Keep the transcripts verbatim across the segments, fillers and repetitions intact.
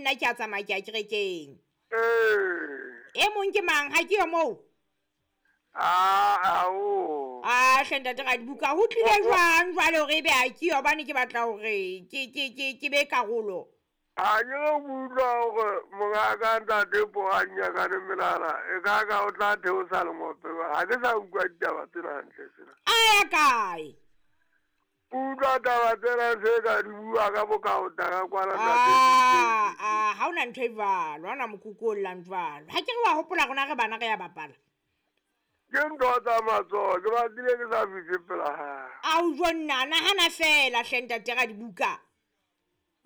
nna ke a tsamaya ke a kerekeng. Ee. E mong ke mang ha ke yo moo? Ah, ao. Ah, hle ntate Radibuka, ho tlile jwang jwale hore ebe ha ke yo hobane ke batla hore ke ke ke ke be karolo. Ha ke re utlwa hore mongaka ntate Poanyakane Melala e ka ka o tla theosa lengope. Ha ke sa utlwa ditaba tsena hantle tsena. A ya kae? Utlwa taba tsena se ka di bua ka bokaota ka kwana ntate. Ah, ah, ha hona ntho e jwalo, ha hona mokoko o llang jwalo. Ha ke re wa hopola rona re bana re ya bapala. Ke ntho tsa matsoho, ke batlile ke sa fihle pela hae. Ao jo nna, nahana fela hle ntate Radibuka.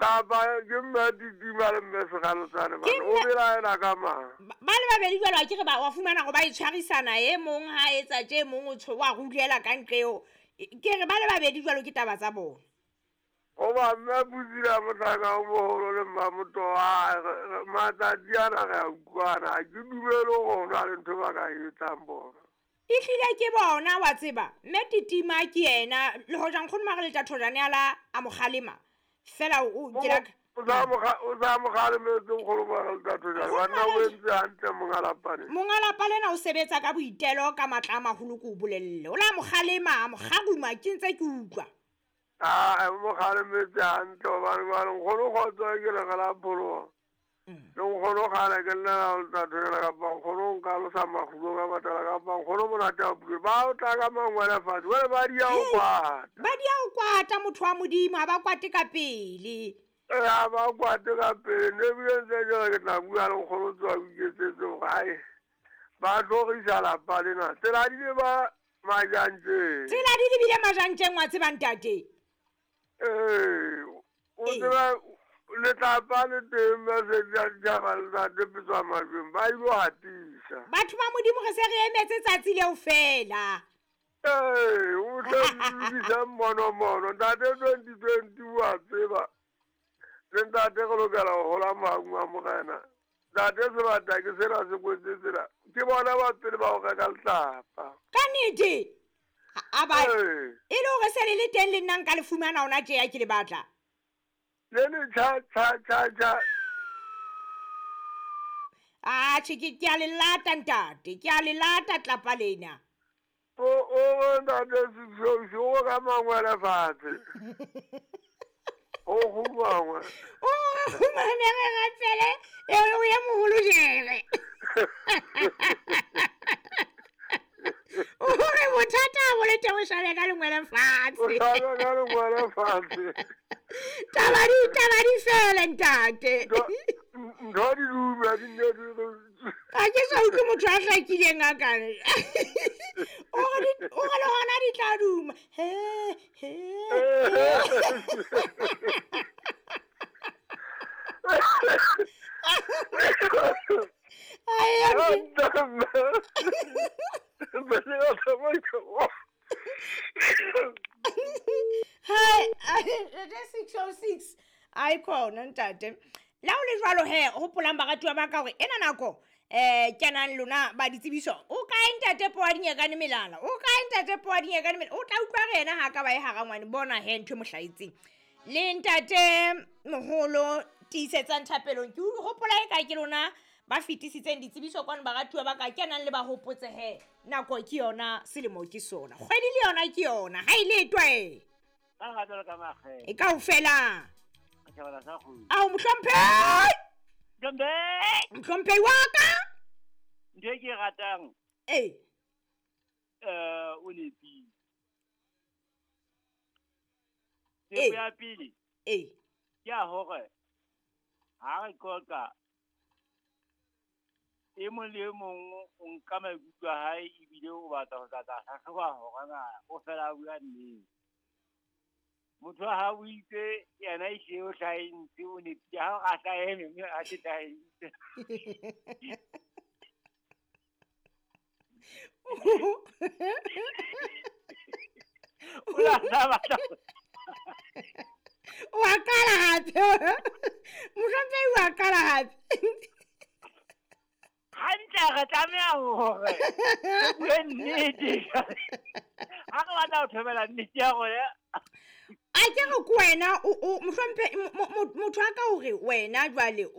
Kapa ke mme Titima le mme Sekgalotsane Ke bana, o mme- belaela ka mang? Ba ba le babedi jwalo ha ke re ba wa fumana hore ba itshwarisana e mong ha etsa tje e mong o tsho wa rulela ka ntle eo. Ke re ba le babedi jwalo ke taba tsa bona. Hoba mme Putila mohlaka o moholo le Mmamotoha, matsatsi ana re a utlwana, ha ke dumele hore ho na le ntho ba ka e etsang bona. Ehlile ke bona wa tseba, mme Titima ke yena le hoja nkgono mare le Thathojane a la a mo kgalema. Fela o ke la O sa mo kga- o sa mo kgalemetse nkgono mare le Thathojane, banna o entse hantle monga lapa lena. Monga lapa lena o sebetsa ka boitelo ka matla a maholo ke o bolelle. O la mo kgalema, a mo kgaruma ke ntse ke utlwa. Ah, mo kgalemetse hantle hobane jwale nkgono kgotso ke le re la pholoha. Le nkgono kgale ke llela le Thathojane kapa nkgono o nkalosa makgulo ka patala kapa nkgono monate wa pule. Ba o tla ka mangwele fatshe, jwale ba di ya ho kwata. Ba di ya ho kwata motho wa Modimo, ha ba kwate ka pele. Eh, ha ba kwate ka pele. Ne ebile ntse ke re ke tla bua le nkgono tswa o iketsetse hore ae, ba tlhorisa lapa lena. Tsela di le ba majantjeng. Tsela di lebile majantjeng wa tseba ntate. Ee, o Ee. tseba letlapa le teng message ya ditjhaba le ntate Petswa Majweng, ba ilo hatisa. Batho ba Modimo re se re emetse tsatsi leo fela. Ee, o tle lokise mmonomono. Ntate twenty twenty wa tseba. Le ntate re lokela ho hola maung a morena. Ntate sebata ke sena se kwetse tsena. Ke bona ba pele ba ho reka letlapa. Ka nnete? A ba Ee. e le hore se le le teng le nna nka le fumana hona tje ya ke le batla. Le le tjha, tjha, tjha, tjha. Ah, tjhe, ke, ke a le lata ntate, ke a le lata tlapa lena. O, o, ntate Seshoshi, o ka mangwele fatshe. O kgumangwe. O kgumane re rapele, e o ye moholo jere. O re bothata bo le teng o shabe ka lengwele fatshe. O shabe ka lengwele fatshe. Taba di, taba di fele ntate. Ntho di duma, di ne di re- Ha ke sa utlwe motho a hlakileng a ka re. O re di, o re le hona di tla duma. He, he, he. Ai, a ke- Hai, ntate six oh six. Ai khona ntate. La ho le jwalo he, hopolang baratuwa ba ka hore ena nako eh kenang lona ba ditsebiso. O kae ntate Poadinyekane Melala? O kae ntate Poadinyekane Melala? O tla utlwa re yena ha ka ba e hara ngwane, bona he ntho e mo hlahetseng. Le ntate moholo tiisetsang thapelong. Ke hopola e ka ke lona ba fetisitseng ditsebiso kwano baratuwa ba ka kenang le ba hopotse he. Nako ke yona, selemo ke sona. Kgwedi le yona ke yona. Ha e le twe. Ka ga jwalo ka makgetho. E kaofela. Ka tjhabela sa kgwedi. Ao, mohlomphehi! Mohlomphehi! Mohlomphehi wa ka! Ntho e ke e ratang. Ee. Eh, o nepile. Ee. Tsebo ya pele. Ee. Ke ya hore ha re qoqa e mong le e mong o nka maikutlo a hae ebile o batla ho tla tla hlahloba hore na o fela a bua nnete. Motho wa hao o itse yena e hlile o hlahentse, o nepile. Ha o a hlahe mme a se hlahentse. O la tla batla. Wa qala hape. Mohlomphehi wa qala hape. Hantle re tlameha hore re bue nnete. Ha re batla ho thobela nnete ya rona. A ke re ke wena o, o, mohlomphehi, mo, mo, motho a ka hore wena jwale o,